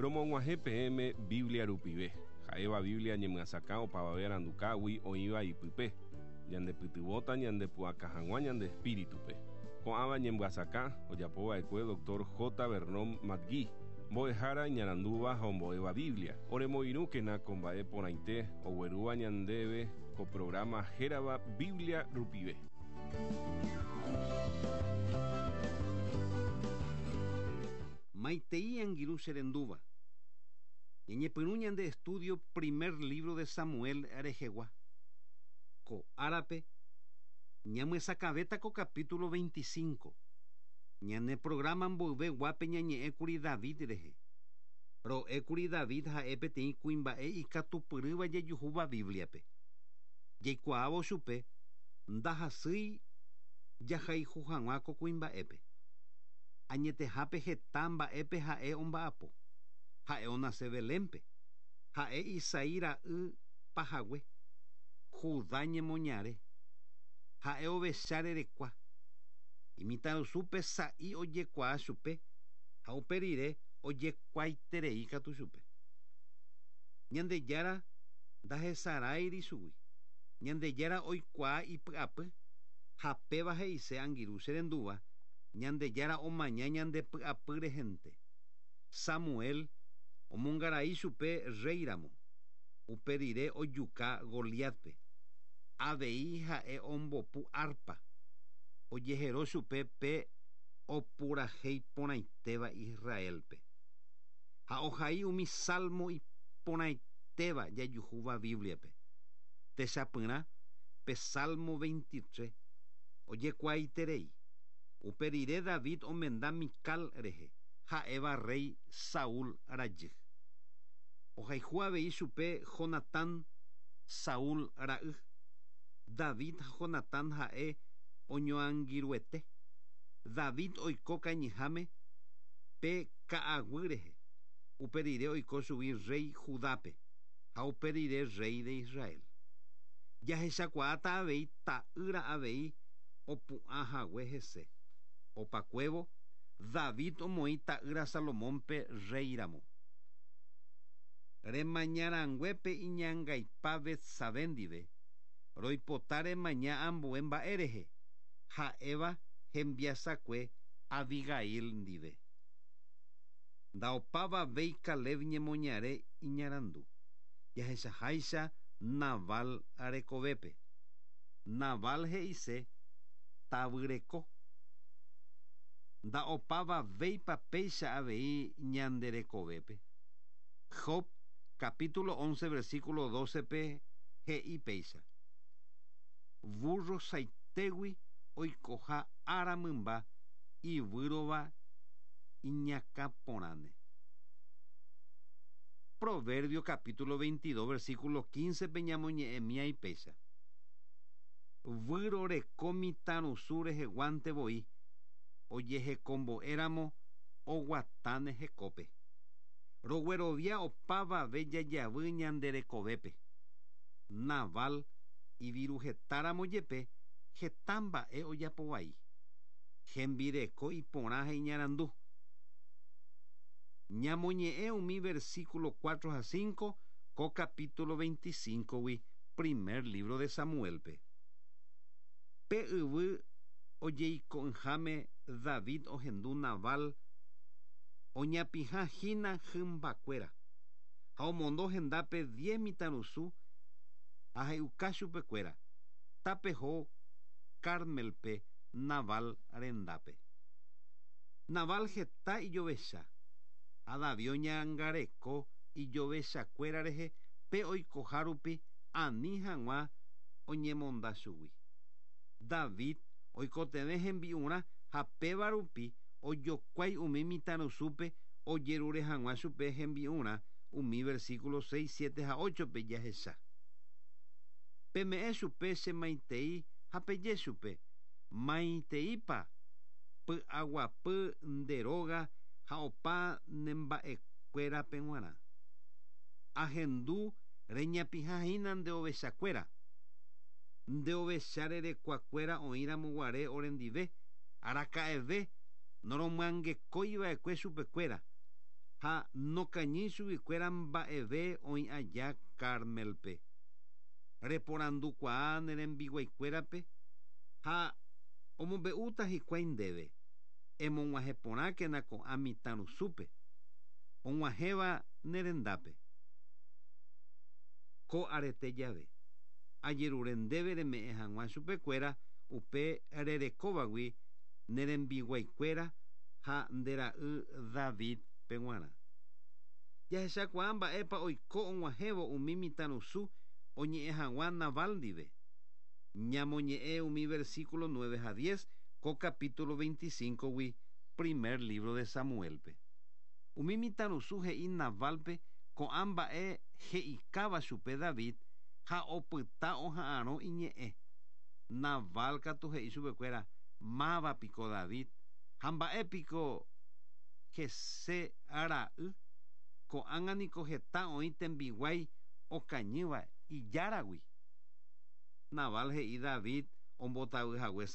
Romog̃uahẽ peẽme Biblia rupive, ha'éva Biblia ñemyasakã opavave arandukágui oĩva ipype, ñandepytyvõta ñandepu'aka hag̃ua ñande espíritupe. Ko'ãva ñemyasakã ojapova'ekue Dr. J. Vernon McGee, mbo'ehára iñarandúva ha ombo'éva Biblia. Oremoirũkena ko mba'e porãite oguerúva ñandéve ko programa hérava Biblia rupive. Maitei angirũ che rendúva. Ñañepyrũ ñande estudio primer libro de Samuel rehegua. Ko árape ñamyesakãvéta ko capítulo 25. Ñane programa mboyve guápe ñañe'ẽkuri David rehe. Ro'ékuri David ha'e peteĩ kuimba'e ikatupyrýva jajuhúva Biblia-pe. Jaikuaávo chupe ndahasýi jahayhu hag̃ua ko kuimba'épe. Añetehápe heta mba'épe ha'e omba'apo. Ha'e onase Belénpe. Ha'e Isaí ra'y pahague, Judá ñemoñare. Ha'e ovecha rerekua. Imitãrusúpe sa'i ojekuaa chupe ha upe rire ojekuaaiterei katu chupe. Ñandejára ndahesaráiri chugui. Ñandejára oikuaa ipy'apy ha péva he'ise angirũ che rendúva Ñandejára omaña ñande py'apy rehente. Samuel omongarai chupe rréi ramo. Upe rire ojuka Goliátpe. Avei ha'e ombopu árpa. Ojehero chupe pe opurahéi porãitéva Israélpe. Ha ohai umi salmo iporãitéva jajuhúva Bíbliape. Techapyrã, pe Salmo 23 ojekuaaiterei. Upe rire David omenda Mical rehe, ha'éva rréi Saúl rajy. Ohayhu avei chupe Jonatán, Saúl ra'y. David ha Jonatán ha'e oñoangirũete. David oiko kañyháme pe ka'aguy rehe. Upe rire oiko chugui rréi Judápe ha upe rire rréi de Israel. Jahechakuaáta avei ta'ýra avei opu'ã hague hese. Opakuévo, David omoĩ ta'ýra Salomónpe rréi ramo. Remaña rangue pe iñangaipa Betsabé ndive, roipota remaña ambue mba'e rehe, ha'éva hembiasakue Abigail ndive. Ndaopavavéi Caleb ñemoñare iñarandu, jahechaháicha Nabal rekovépe. Nabal he'ise tavyreko. Ndaopavavéipa péicha avei ñande rekovépe. Job capítulo 11 versículo 12-pe he'i péicha: Vúrro saitégui oikoha ára mymba ivýrova iñakã porãne. Proverbio capítulo 22 versículo 15-pe ñamoñe'ẽmíai péicha: Výro reko mitãrusu reheguánte voi, ojehekombo'éramo oguatáne hekópe. Roguerovia opavave jajavy ñande rekovépe. Nabal iviruhetáramo jepe heta mba'e ojapo vai. Hembireko iporã ha iñarandu. Ñamoñe'ẽ umi versículo 4 ha 5 ko capítulo 25-gui primer libro de Samuel-pe. Pe yvy ojeiko'ỹháme David ohendu Nabal oñapĩha hína hymbakuéra, ha omondo hendápe diez mitãrusu ha he'uka chupekuéra, Tapeho Cármelpe Nabal rendápe. Nabal heta ijovecha, ha David oñangareko ijovechakuéra rehe pe oikoha rupi ani hag̃ua oñemonda chugui. David oikotevẽ hembi'urã ha péva rupi ojokuái umi mitãrusúpe ojerure hag̃ua chupe hembi'urã umi versículo 6, 7 ha 8-pe jahecha. Peme'ẽ chupe che maitei ha peje chupe, Maiteípa py'aguapy nde róga ha opa ne mba'ekuérape g̃uarã. Ahendu reñapĩha hína nde ovechakuéra. Nde ovecha rerekuakuéra oĩramo guare orendive, araka'eve noromyangekói va'ekue chupekuéra. Ha nokañýi chuguikuéra mba'eve oĩ aja Cármelpe. Reporandukuaa ne rembiguaikuérape ha omombe'úta hikuái ndéve, Emog̃uahẽ porãkena ko'ã mitãrusúpe, og̃uahẽva ne rendápe. Ko arete jave, ajerure ndéve reme'ẽ hag̃ua chupekuéra upe rerekóvagui ne rembiguaikuéra ha nde ra'y David peg̃uarã. Jahechakuaa mba'épa oiko og̃uahẽvo umi mitãrusu oñe'ẽ hag̃ua Nabal ndive. Ñamoñe'ẽ umi versículo nueve ha diez ko capítulo 25-gui primer lívro de Samuélpe. Umi mitãrusu he'i Nabálpe ko'ã mba'e he'ikáva chupe David ha opyta oha'arõ iñe'ẽ. Nabal katu he'i chupekuéra, Máva piko David, ha mba'e piko Jesé ra'y? Ko'ág̃a niko heta oĩ tembiguái okañýva ijáragui. Nabal he'i David ombotavy hague Saúlpe.